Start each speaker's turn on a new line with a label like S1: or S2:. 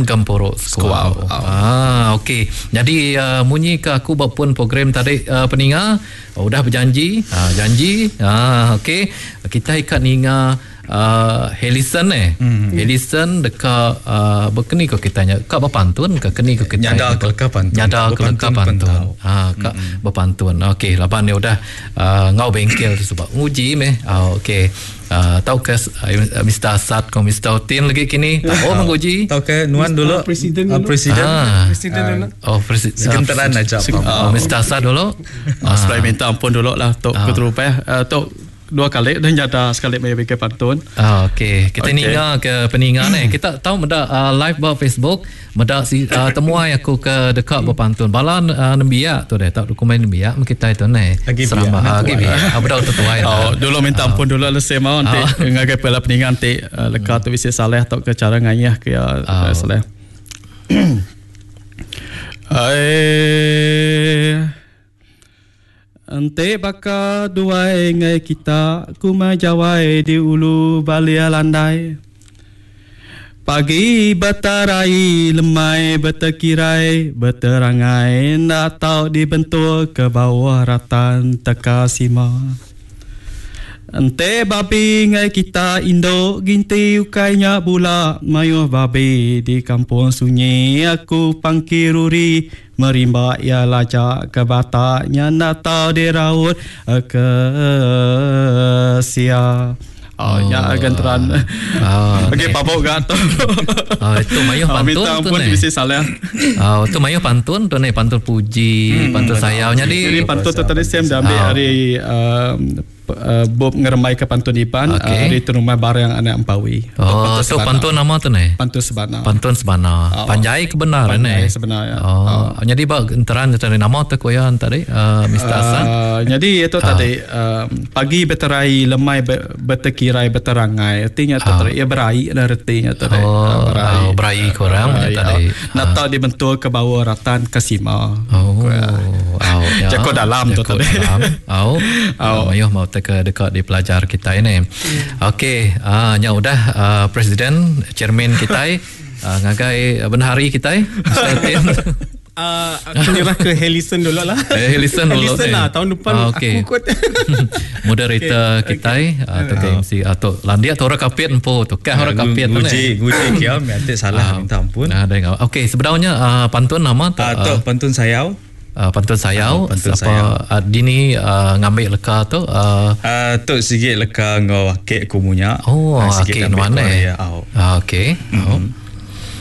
S1: Gempuru Skuau. Ah, okey. Jadi uh, munyi ke aku ba pun program tadi uh, peninga udah berjanji, uh, janji. Ah, okey. Kita ikat ninga uh, Helison eh. Mm. Helison deka uh, berkeni ko kita nya ka berpantun ke keni ko kita.
S2: Nyada ke leka pantun.
S1: Nyada ke leka pantun. Ha, ka mm. berpantun. Okey, laban dia udah uh, ngau bengkel tu sebab nguji meh. Uh, okey. Uh, tau ke uh, Mr. Asad ko Mr. Otin lagi kini. Tau oh, menguji.
S2: Tau ke nuan dulu.
S3: Presiden dulu.
S2: Uh, presiden.
S1: Ah.
S3: Presiden dulu.
S1: Oh, presiden.
S2: Segenteran aja.
S1: Oh, Mr. Asad dulu.
S4: Uh, Supaya minta ampun dulu lah tok uh. keterupah. Uh, tok dua kali dah nyata sekali mai bikin pantun.
S1: Ah, okey. Kita okay. ninga ke peninga ni. Kita tahu meda uh, live ba Facebook, meda si uh, temuai aku ke dekat berpantun. Bala uh, nembiak tu deh, tak dokumen nembiak kita itu ni.
S2: Seramba
S1: lagi biak. Ah, budak tu tuai.
S4: Oh, dulu minta ampun dulu lah saya mau nanti oh. ngagai pela peninga nanti uh, leka tu bisi saleh atau ke cara ngayah ke ya oh. saleh. Ai Enti baka duai enggai kita kumai jawai di ulu balia landai. Pagi betarai lemai betekirai beterangai enda tau dibentuk ke bauh ratan teka sima. Enti babi enggai kita indu ginti ukai nya bula mayuh babi di kampung sunyi aku pangki ruri Merimba iya laja ke batak nya enda tau diraut ke sia. Oh, nya genteran.
S1: Oh,
S4: Okey, pabuk ga tu.
S1: Oh, itu mayuh
S4: Oh,
S1: pantun
S4: minta
S1: tu
S4: ampun
S1: ni.
S4: bisi salah.
S1: Oh, tu mayuh pantun tu ni, pantun puji, pantun sayau. Jadi
S4: Jadi pantun tu tadi Sam dah ambil
S1: Oh.
S4: dari um, uh, bup ngerembai ke pantun Iban
S1: Okey.
S4: uh, dari Terumah Barang Anak Empawi.
S1: Oh, tu pantun nama tu ni.
S4: Pantun Sebana.
S1: Pantun sebana.
S4: Oh.
S1: Panjai ke benar
S4: Panjai
S1: ni.
S4: sebenar, ya.
S1: Oh, jadi ba enteran tadi nama tu koya tadi uh, Mr. Hasan.
S4: Uh, jadi itu tadi uh, pagi berterai lemai bertekirai berterangai artinya tu tadi ya berai lah artinya tadi
S1: Oh,
S4: Ah,
S1: oh, berai korang
S4: Berai,
S1: tadi.
S4: ah. Nak tahu dibentuk ke bawah ratan ke sima
S1: Oh, oh, ya.
S4: Jago dalam tu
S1: Jago
S4: tadi.
S1: dalam. Oh,
S4: Oh.
S1: oh. Mayuh mau teka dekat di pelajar kita ini. Okey, ah nya udah ah, presiden chairman kita ah, ngagai bendahari kita Mr. Tin.
S3: Uh, aku nyerah ke Helison dulu lah.
S1: Eh, Helison dulu.
S3: Helison
S1: eh.
S3: lah. Tahun depan
S1: Ah, okey.
S3: aku kot.
S1: Moderator okay. kita atau ke MC atau landia tu orang kapit empu tu kah orang kapit tu
S2: Nguji,
S1: ni.
S2: nguji kia, nanti salah minta ampun.
S1: Nah, ada yang Okey, sebenarnya ah, pantun nama tu
S2: Ah, tu pantun sayau.
S1: ah, pantun sayau
S2: Ah, pantun
S1: apa
S2: sayau.
S1: ah, dini ah, ngambil leka tu ah,
S2: Ah, tu sikit leka ngau akek ku munya.
S1: Oh,
S2: Ah, sikit
S1: okey
S2: ambil
S1: nuan
S2: ku
S1: eh.
S2: ya, au.
S1: Ah, okey. Oh.